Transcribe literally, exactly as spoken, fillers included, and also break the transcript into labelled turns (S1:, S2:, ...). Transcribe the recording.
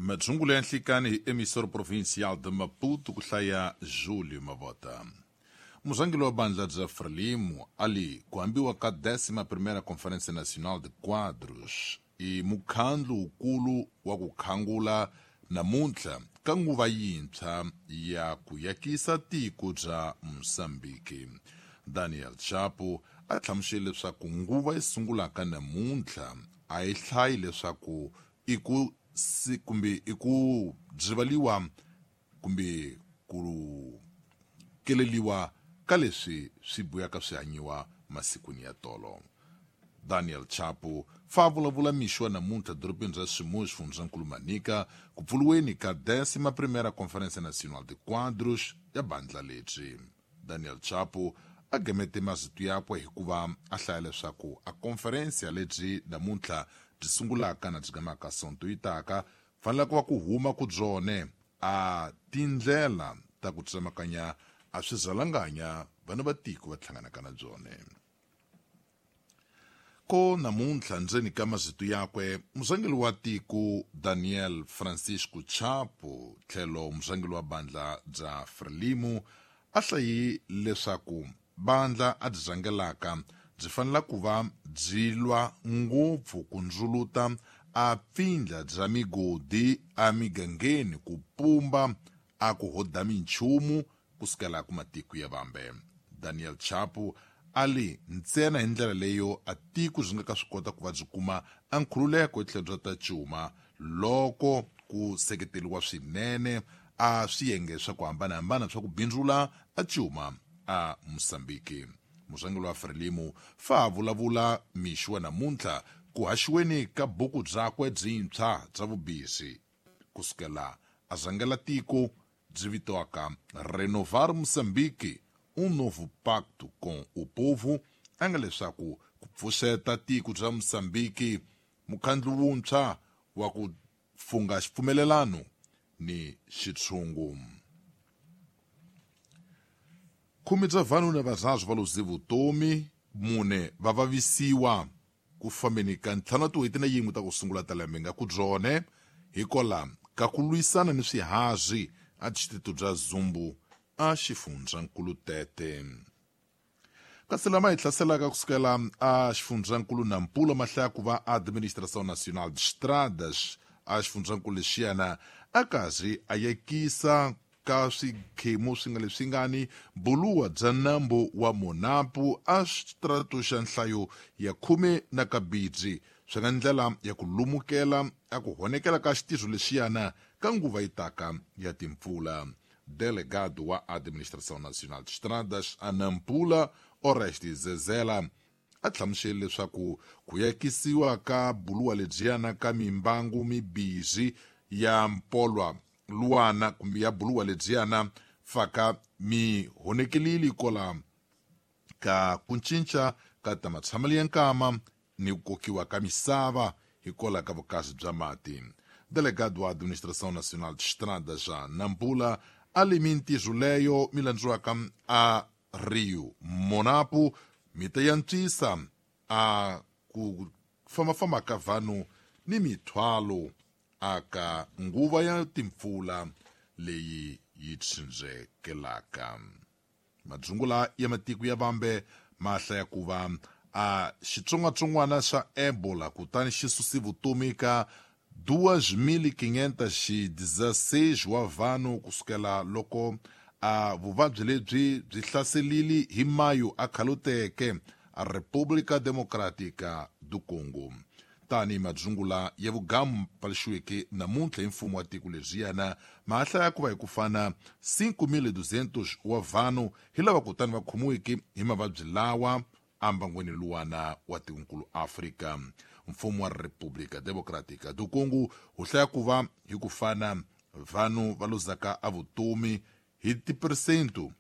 S1: Madzungulo ya nhlikani hi emissora provincial de Maputo ku hlaya Júlio Mavota. Murhangeri wa bandla bya Frelimo ali ku ambiwa ka décima primeira Conferência Nacional de Quadros i mukhandlu wukulu wa ku khangula namuntlha ka nguva yintshwa ya ku yakisa tiko bya Mozambique. Daniel Chapo a hlamusele leswaku nguva yi sungulaka namuntlha a yi hlayi leswaku i ku si kumbe i ku byivaliwa kumbe ku keleliwa ka leswi swi buyaka swi hanyiwa masikwini ya tolo. Daniel Chapo fa vulavula mixo wa namuntlha dorobeni ra Chimoio xifundzankulu Manica ku pfuriweni ka décima primeira Conferência Nacional de Quadros ya bandla lebyi. Daniel Chapo a gamete mazito yakwe hikuva a hlaya leswaku a conferência lebyi namuntlha byi sungulaka na byi gamaka sonto yi taka fanele ku va ku huma ku byone a tindlela ta ku tsemakanya a swizalanganya vana va tiko va hlanganaka na byone. Ko namuntlha ndzeni ka mazito yakwe murhangeri wa tiko Daniel Francisco Chapo tlhelo murhangeri wa bandla bya Frelimo a hlayi leswaku bandla a byi rhangelaka byi fanele ku va byi lwa ngopfu ku ndzuluta a pfindla bya migodi emigangeni ku pumba a ku hoda minchumu kusukela ku matiko ya vambe. Daniel Chapo ali ntsena hi ndlela leyo a tiko byi nga ka swi kota ku va byi kuma a nkhululeko hi tlhelo bya ta cuma loko ku seketeriwa swinene a swiyenge swa ku hambanahambana swa ku bindzula a cuma a Mozambique. Murhangeri wa Frelimo fa vulavula mixo wa namuntlha ku haxiweni ka buku byakwe byintshwa bya vubisi kusukela a rhangela tiko byi vitiwaka Renovar Moçambique, um novo pacto com o povo, a nga leswaku ku pfuxeta tiko bya Mozambique mukhandlu wuntshwa wa ku funga xipfumelelano ni xitshungu. Khume bya vanhu na varhazu va luze vutomi, mune va vavisiwa ku fambeni ka ntlhanu wa tin'hweti na yin'we ta ku sungula ta lembe nga ku byone hikola ka ku lwisana ni swihazi a distrito bya Zumbu a xifundzankulu Tete. Kasi lama hi hlaselaka kusukela a xifundzankulu Nampula ma hlaya ku va Administração Nacional de Estradas a xifundzankulu lexiyana a karhi a yekisa ka swikhemu swi nga leswi ngani buluwa bya nambu wa Monapo a xitrato xa nhlayo ya khume na kabidzi swi nga ndlela ya ku lumukela a ku honekela ka xitizo lexiyana ka nguva yi taka ya timpfula. Delegado wa Administração Nacional de Estradas a Nampula Oreste Zezela a hlamusele leswaku ku yakisiwa ka buluwa lebyiyana ka mimbangu mibirhi ya mpolwa luwana kumbe ya buluwa lebyiyana faka mi honekelile kola ka ku cinca ka ta matshamelo ya nkama ni ku kokiwa ka misava hikola ka vukazi bya mati. Delegado wa Administração Nacional de Estradas a Nampula ali mintirho leyo mi landziwaka a Rio Monapo mi ta yantswisa a ku fambafamba ka vanhu ni mithwalo aka nguva ya timpfula leyi yi tsindzekelaka. Madzungula ya matiko ya vambe ma hlaya ku va a xitsongwatsongwana xa Ebola kutani xi susi vutomi ka duas mil quinhentas e dezesseis wa vanhu kusukela loko a vuvabyi lebyi byi hlaselile hi mayo a khaluteke a República Democrática do Congo. Tani madzungula ya vugamu paluxiweke namuntlha hi mfumo wa tiko lebyiyana ma hlaya ku va hi ku fana cinco mil duzentos wa vanhu hi lava kutani va khomiweke hi mavabyi lawa ambangweni luwana wa tikonkulu Afrika. Mfumo wa República Democrática do Congo wu hlaya ku va hi ku fana vanhu va luzaka a vutomi hi tiperesento